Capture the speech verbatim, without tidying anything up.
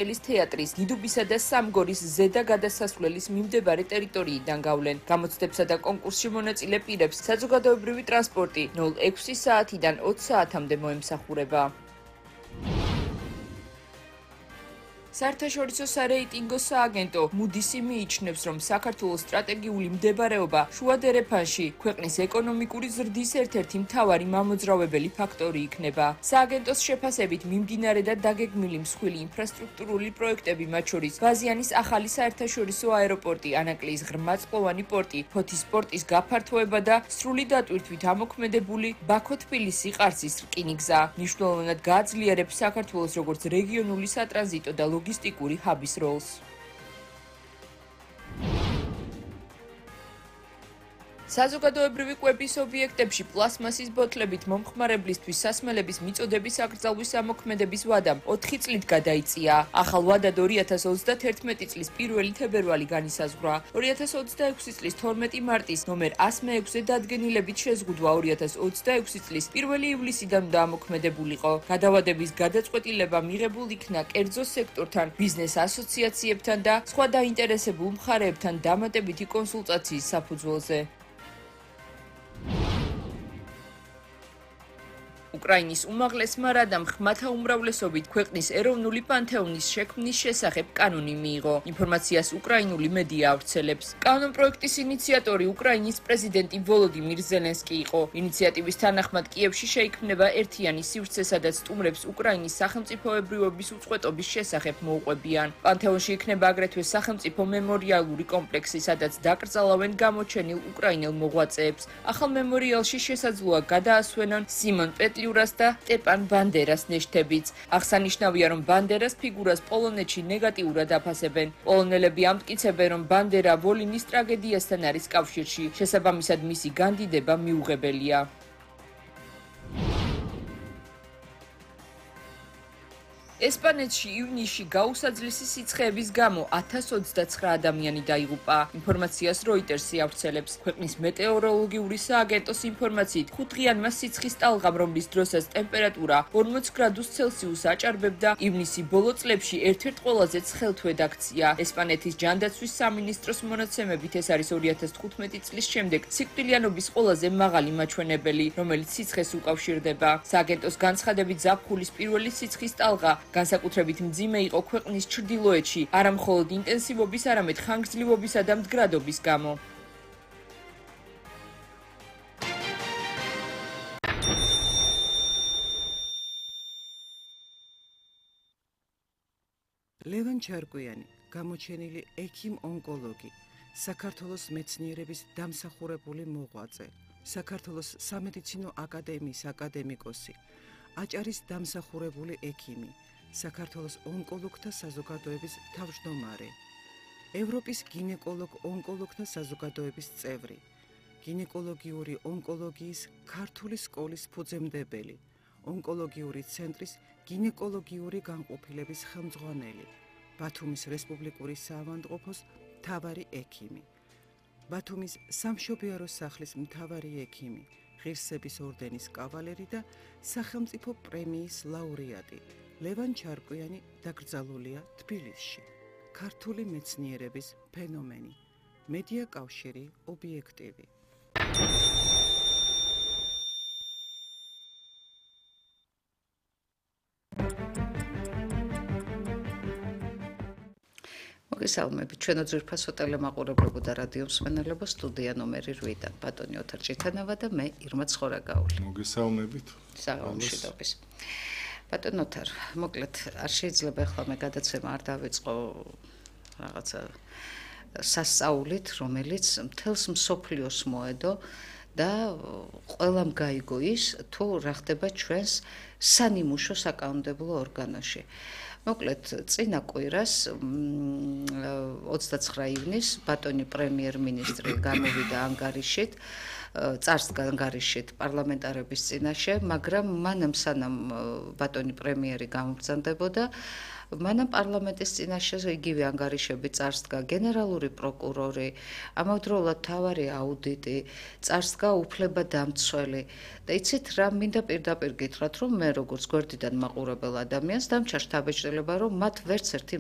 ელის თეატრის, დიდუბისა და სამგორის ზედა გადასასვლელის მიმდებარე ტერიტორიიდან გავლენ. გამოცდებსა და კონკურსში მონაწილე პირებს საზოგადოებრივი ტრანსპორტი ნულ ექვსი საათიდან ოცი საათამდე მოემსახურება. საერთაშორისო სარეიტინგო სააგენტო მუდისი მიიჩნევს, რომ საქართველოს სტრატეგიული მდებარეობა შუა დერეფანში ქვეყნის ეკონომიკური ზრდის ერთ-ერთი მთავარი მამოძრავებელი ფაქტორი იქნება. სააგენტოს შეფასებით, მიმდინარე და დაგეგმილი მსხვილი ინფრასტრუქტურული პროექტები, მათ შორის ბაზიანის ახალი საერთაშორისო აეროპორტი, ანაკლიის ღრმაწყლოვანი პორტი, ფოთის პორტის გაფართოება და სრული დატვირთვით ამოქმედებული ბაქო-თბილისი-ყარსის რკინიგზა მნიშვნელოვნად გააძლიერებს საქართველოს როგორც რეგიონული სატრანზიტო და ლოგისტიკური ჰაბის როლს. საზოგადოებრივი კვების ობიექტებში პლასმასის ბოთლებით მომხმარებლისთვის სასმელების მიწოდების აკრძალვის ამოქმედების ვადამ ოთხი წლით გადაიწია. ახალ ვადად ორი ათას ოცდაათერთმეტი წლის პირველი თებერვალი განისაზღვრა. ორი ათას ოცდაექვსი წლის თორმეტი მარტის ნომერ ასი მეექვსე დადგენილებით შეზღუდვა ორი ათას ოცდაექვსი წლის პირველი ივლისიდან უნდა ამოქმედებულიყო. გადავადების გადაწყვეტილება მიღებულ იქნა კერძო სექტორთან, ბიზნეს ასოციაციებთან და სხვა დაინტერესებულ მხარეებთან დამატებითი კონსულტაციის საფუძველზე. უკრაინის უმაღლესმა რადამ ხმათა უმრავლესობით ქვეყნის ეროვნული პანთეონის შექმნის შესახებ კანონი მიიღო. ინფორმაციას უკრაინული მედია ავრცელებს. კანონპროექტის ინიციატორი უკრაინის პრეზიდენტი ვოლოდიმირ ზელენსკი იყო. ინიციატივის თანახმად კიევში შეიქმნება ერთიანი სივრცე, სადაც სტუმრებს უკრაინის სახელმწიფოებრიობის უწყვეტობის შესახებ მოუყვებიან. პანთეონში იქნება აგრეთვე სახელმწიფო მემორიალური კომპლექსი, სადაც დაკრძალავენ გამოჩენილ უკრაინელ მოღვაწეებს. ახალ მემორიალში შესაძლოა გადაასვენონ სიმონ პეტლიურას და სტეპან ბანდერას ნეშთებიც. აღსანიშნავია, რომ ბანდერას ფიგურას პოლონეთში ნეგატიურად აფასებენ. პოლონელები ამტკიცებენ, რომ ბანდერა ვოლინის ტრაგედიასთან არის კავშირში. შესაბამისად, მისი განდიდება მიუღებელია. ესპანეთში ივნისში გაუსაძლისი სიცხეების გამო ათას ოცდაცხრა ადამიანი დაიღუპა. ინფორმაციას როიტერსი ავრცელებს. ქვეყნის მეტეოროლოგიური სააგენტოს ინფორმაციით, ხუთდღიანმა სიცხის ტალღამ, რომლის დროსაც ტემპერატურა ორმოც გრადუს ცელსიუსს აჭარბებდა, ივნისი ბოლო წლებში ერთ-ერთ ყველაზე ცხელ თვედ აქცია. ესპანეთის ჯანდაცვის სამინისტროს მონაცემებით ეს არის ორი ათას თხუთმეტი წლის შემდეგ სიკვდილიანობის ყველაზე მაღალი მაჩვენებელი, რომელიც სიცხეს უკავშირდება. სააგენტოს განცხადებით, ზაფხულის პირველი სიცხის ტალღა განსაკუთრებით მძიმე იყო ქვეყნის ჩრდილოეთში, არა მხოლოდ ინტენსივობის, არამედ ხანგრძლივობისა და მდგრადობის გამო. ლევან ჩარკვიანი, გამოჩენილი ექიმ-ონკოლოგი, საქართველოს მეცნიერების დამსახურებული მოღვაწე, საქართველოს სამედიცინო აკადემიის აკადემიკოსი, აჭარის დამსახურებული ექიმი, საქართველოს ონკოლოგთა საზოგადოების თავმჯდომარე, ევროპის გინეკოლოგ-ონკოლოგთა საზოგადოების წევრი, გინეკოლოგიური ონკოლოგიის ქართული სკოლის ფუძემდებელი, ონკოლოგიური ცენტრის გინეკოლოგიური განყოფილების ხელმძღვანელი, ბათუმის რესპუბლიკური საავადმყოფოს მთავარი ექიმი, ბათუმის სამშობიარო სახლის მთავარი ექიმი, ღირსების ორდენის კავალერი და სახელმწიფო პრემიის ლაურეატი. ლევან ჩარკვიანი დაკრძალულია თბილისში. ქართული მეცნიერების ფენომენი. მედია კავშირი ობიექტივი. მოგესალმებით, ჩვენო ძვირფასო ტელემაყურებლებო და რადიო მსმენელებო, სტუდია ნომერი შვიდიდან ბატონი ოთარ ჭიტანავა და მე ირმა ცხორაგაული. მოგესალმებით. საღამოშიდობის. ბატონ ოთარ, მოკლედ არ შეიძლება ახლა მე გადაცემა არ დავიწყო რაღაცა სასწაულით, რომელიც მთელს მსოფლიოს მოედო და ყველამ გაიგო ის, თუ რა ხდება ჩვენს სანიმუშო საკანონმდებლო ორგანოში. მოკლედ, წინა კვირას ოცდაცხრა ივნისს ბატონი პრემიერ-მინისტრი გამოვიდა ანგარიშით, წარს ანგარიშით პარლამენტარების წინაშე, მაგრამ მანამ სანამ ბატონი პრემიერი გამბრძანდებოდა, მანამ პარლამენტის წინაშე იგივე ანგარიშები წარსდგა გენერალური პროკურორი, ამავდროულად მთავარი აუდიტი, წარსდგა უფლებადამცველი და იცით რა მინდა პირდაპირ გითხრათ, რომ მე როგორც გვერდიდან მაყურებელ ადამიანს დამჩა შთაბეჭდილება, რომ მათ ვერც ერთი